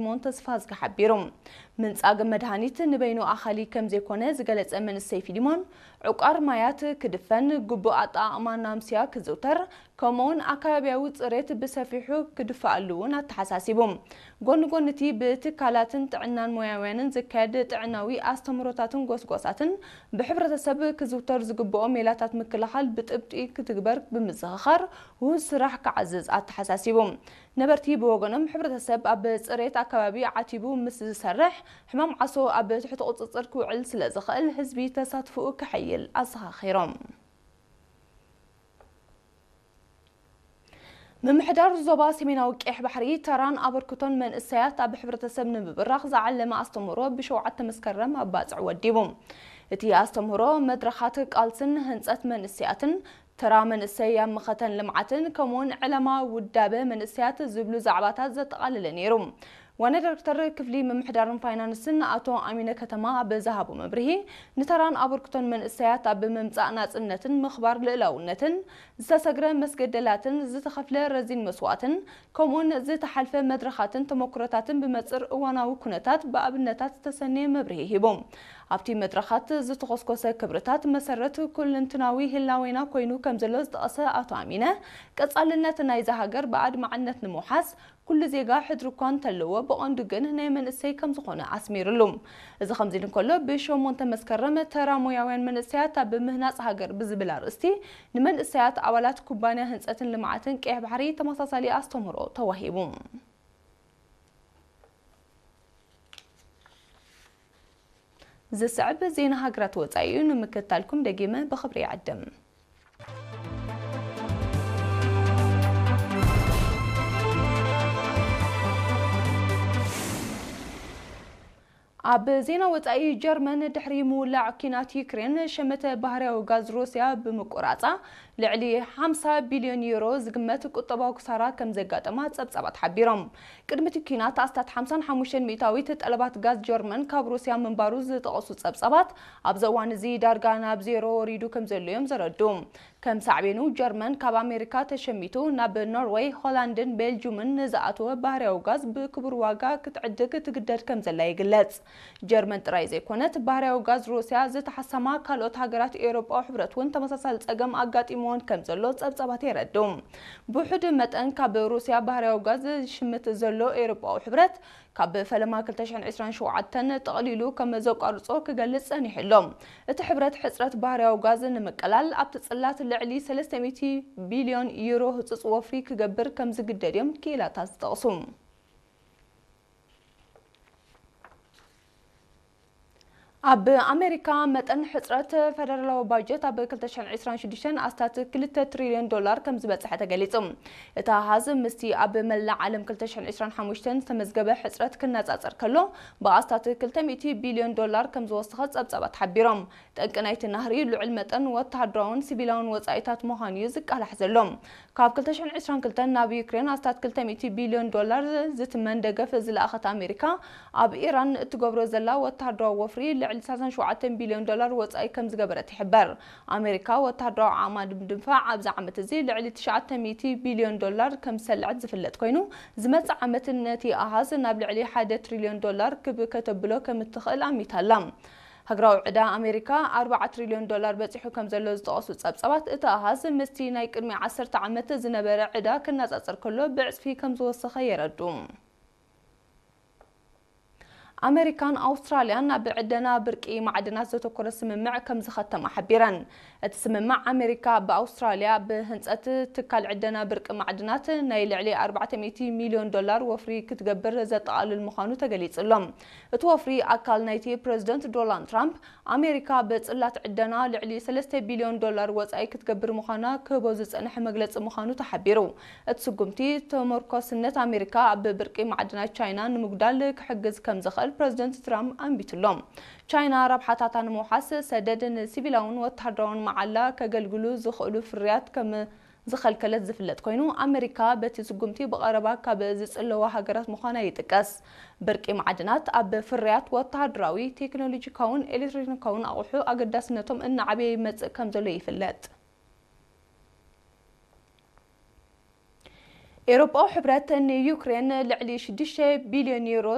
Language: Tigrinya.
ፊሊሞን ተስፋዝጊ ሓቢሩ። ምንጻግ መድሃኒት ንበይኑ ኣኻሊ ከም ዘይኮነ ዝገለጸ መንእሰይ ፊሊሞን፣ ዕቋር ማያት ክድፈን፣ ግቡእ ኣጠቓቕማ ናምስያ ክዝውተር፣ ከምኡውን ኣከባቢያዊ ጽሬት ብሰፊሑ ክድፋኣሉ እውን ኣተሓሳሲቡ። ጎኒ ጎኒ እቲ ብትካላትን ጥዕናን ሞያውያንን ዝካየድ ጥዕናዊ ኣስተምህሮታትን ጎስጓሳትን ብሕብረተሰብ ክዝውተር ዝግብኦ ሜላታት ምክልኻል ብጥብጢ ክትግበር ብምዝኽኻር ውሁድ ስራሕ ክዓዝዝ ኣተሓሳሲቡ። ነበርቲ ብወገኖም ሕብረተሰብ ኣብ ጽሬት ኣከባቢ ዓቲቡ ምስ ዝሰርሕ ሕማም ዓሶ ኣብ ትሕቲ ቁጽጽር ክውዕል ስለ ዝኽእል ህዝቢ ተሳትፎኡ ከሐይል ኣዘኻኺሮም። ምምሕዳር ዞባ ሰሜናዊ ቀይሕ ባሕሪ ተራን ኣበርክቶን መንእሰያት ኣብ ሕብረተሰብ ንምብራኽ ዝዓለመ ኣስተምህሮ ብሸውዓተ መስከረም ኣብ ባጽዕ ወዲቡ። እቲ ኣስተምህሮ መድረኻት ቃልስን ህንጸት መንእሰያትን፣ ተራ መንእሰይ ኣብ መኸተን ልምዓትን ከምኡውን ዕለማ ውዳበ መንእሰያት ዝብሉ ዛዕባታት ዘጠቓለለ ነይሩ። ዋና ዳይሬክተር ክፍሊ ምምሕዳርን ፋይናንስን ኣቶ ኣሚነ ከተማ ኣብ ዝሃቦ መብርሂ፣ ንተራን ኣበርክቶን መንእሰያት ኣብ ምምጻእ ናጽነትን ምኽባር ልእላውነትን ዝተሰግረ መስገደላትን ዝተኸፍለ ረዚን መስዋእትን ከምኡውን ዝተሓልፈ መድረኻትን ተመክሮታትን ብመጽር እዋናዊ ኩነታት ብኣብነታት ዝተሰነየ መብርሂ ሂቡ። ኣብቲ መድረኻት ዝተኾስኮሰ ክብርታት መሰረት ኩልንትናዊ ህላዌና ኮይኑ ከም ዘሎ ዝጠቐሰ ኣቶ ኣሚነ፣ ቀጻልነት ናይዛ ሃገር ብኣድማዕነት ንምውሓስ ኩሉ ዜጋ ሕድሪ እኳ እንተለዎ ብቐንዱ ግን ናይ መንእሰይ ከም ዝኾነ ኣስሚርሉ። እዚ ከምዚ ኢሉ እንከሎ፣ ብሸሞንተ መስከረም ተራ ሞያውያን መንእሰያት ኣብ ምህናጽ ሃገር ብዝብል ኣርእስቲ ንመንእሰያት ኣባላት ኩባንያ ህንጸትን ልምዓትን ቀይሕ ባሕሪ ተመሳሳሊ ኣስተምህሮ ተዋሂቡ። ዝስዕብ ዜና ሃገራት ወጻኢ እዩ። ንምክትታልኩም ደጊመ ብኽብሪ ይዕድም። ኣብ ዜና ወጻኢ፣ ጀርመን ድሕሪ ምውላዕ ኲናት ዩክሬን ሸመተ ባህርያዊ ጋዝ ሩስያ ብምቁራጻ ልዕሊ ሓምሳ ቢልዮን ዩሮ ዝግመት ቁጠባዊ ክሳራ ከም ዘጋጠማ ጸብጻባት ሓቢሮም። ቅድሚ እቲ ኲናት ኣስታት ሓምሳን ሓሙሽተን ሚእታዊት ጠለባት ጋዝ ጀርመን ካብ ሩስያ ምንባሩ ዝጠቐሱ ጸብጻባት፣ ኣብዚ እዋን እዚ ዳርጋ ናብ ዜሮ ወሪዱ ከም ዘሎ እዮም ዘረድኡ። ከም ሳዕቤኑ፣ ጀርመን ካብ ኣሜሪካ ተሸሚቱ ናብ ኖርወይ፣ ሆላንድን ቤልጁምን ንዝኣተወ ባህርያዊ ጋዝ ብክቡር ዋጋ ክትዕድግ ትግደድ ከም ዘላ ይግለጽ። ጀርመን ጥራይ ዘይኮነት፣ ባህርያዊ ጋዝ ሩስያ ዝተሓሰማ ካልኦት ሃገራት ኤውሮጳዊ ሕብረት እውን ተመሳሳሊ ጸገም ኣጋጢምወን ከም ዘሎ ጸብጻባት የረድኡ። ብውሑድ መጠን ካብ ሩስያ ባህርያዊ ጋዝ ዝሽምት ዘሎ ኤውሮጳዊ ሕብረት፣ ካብ ፈለማ ክልተ ሽሕን ዕስራን ሸውዓተን ጠቕሊሉ ከም ዘቋርጾ ክገልጽ ጸኒሑ ኣሎ። እቲ ሕብረት ሕጽረት ባህርያዊ ጋዝ ንምቅላል ኣብቲ ጽላት ልዕሊ ሰለስተ ሚእቲ ቢልዮን ዩሮ ህጹጽ ወፍሪ ክገብር ከም ዝግደድ እዮም ክኢላታት ዝጠቕሱ። ኣብ ኣሜሪካ መጠን ሕጽረት ፈደራላዊ ባጀት ኣብ ክልተ ሽሕን ዕስራን ሽዱሽተን ኣስታት ክልተ ትሪልዮን ዶላር ከም ዝበጽሐ ተገሊጹ። እቲ ኣሃዝ ምስቲ ኣብ መላእ ዓለም ክልተ ሽሕን ዕስራን ሓሙሽተን ዝተመዝገበ ሕጽረት ክነጻጸር ከሎ፣ ብኣስታት ክልተ ሚእቲ ቢልዮን ዶላር ከም ዝወሰኸ ጸብጻባት ሓቢሮም። ጠንቂ ናይቲ ናህሪ ልዑል መጠን ወተሃደራውን ሲቪላውን ወጻኢታት ምዃኑ እዩ ዝቃላሕ ዘሎ። ካብ ክልተ ሽሕን ዕስራን ክልተን ናብ ዩክሬን ኣስታት ክልተ ሚእቲ ቢልዮን ዶላር ዝትመን ደገፍ ዝለኣኸት ኣሜሪካ፣ ኣብ ኢራን እትገብሮ ዘላ ወተሃደራዊ ወፍሪ ልዕሊ ሰላሳን ሸውዓተን ቢልዮን ዶላር ወጻኢ ከም ዝገበረት ይሕበር። ኣሜሪካ ወተሃደራዊ ዓቕማ ንምድንፋዕ ኣብዚ ዓመት እዚ ልዕሊ ትሽዓተ ሚእቲ ቢልዮን ዶላር ከም ዝሰልዐት ዝፍለጥ ኮይኑ፣ ዝመጽእ ዓመት ነቲ ኣሃዝ ናብ ልዕሊ ሓደ ትሪልዮን ዶላር ክብ ከተብሎ ከም እትኽእል ኣሚታ ኣላ። ሃገራዊ ዕዳ ኣሜሪካ ኣርባዓ ትሪልዮን ዶላር በጺሑ ከም ዘሎ ዝጠቐሱ ጸብጻባት፣ እቲ ኣሃዝ ምስቲ ናይ ቅድሚ ዓሰርተ ዓመት ዝነበረ ዕዳ ክነጻጸር ከሎ ብዕጽፊ ከም ዝወሰኸ የረድኡ። ኣሜሪካን ኣውስትራልያን ኣብ ዕደና ብርቂ ማዕድናት ዘተኮረ ስምምዕ ከም ዝኸተማ ሓቢረን። እቲ ስምምዕ፣ ኣሜሪካ ኣብ ኣውስትራልያ ብህንጸት ትካል ዕደና ብርቂ ማዕድናት ናይ ልዕሊ ኣርባዕተ ሚእቲ ሚልዮን ዶላር ወፍሪ ክትገብር ዘጠቓልል ምዃኑ ተገሊጹ ኣሎ። እቲ ወፍሪ፣ ኣካል ናይቲ ፕረዚደንት ዶናልድ ትራምፕ ኣሜሪካ ብጽላት ዕደና ልዕሊ ሰለስተ ቢልዮን ዶላር ወጻኢ ክትገብር ምዃና ክህቦ ዝጸንሐ መግለጺ ምዃኑ ተሓቢሩ። እቲ ስጉምቲ፣ ተመርኮስነት ኣሜሪካ ኣብ ብርቂ ማዕድናት ቻይና ንምጉዳል ክሕግዝ ከም ዝኽእል ፕረዚደንት ትራምፕ ኣንቢቱ ኣሎ። ቻይና ረብሓታታ ንምውሓስ ሰደድ ንሲቪላውን ወተሃደራውን መዓላ ከገልግሉ ዝኽእሉ ፍርያት ከም ዝኸልከለት ዝፍለጥ ኮይኑ፣ ኣመሪካ በቲ ስጉምቲ ብቐረባ ካብ ዝጽለዋ ሃገራት ምዃና ይጥቀስ። ብርቂ ማዕድናት ኣብ ፍርያት ወተሃደራዊ፣ ቴክኖሎጂካውን ኤሌክትሮኒካውን ኣቑሑ ኣገዳስነቶም እናዓበየ ይመጽእ ከም ዘሎ ይፍለጥ። ኤውሮጳዊ ሕብረት ንዩክሬን ልዕሊ ሽዱሽተ ቢልዮን ዩሮ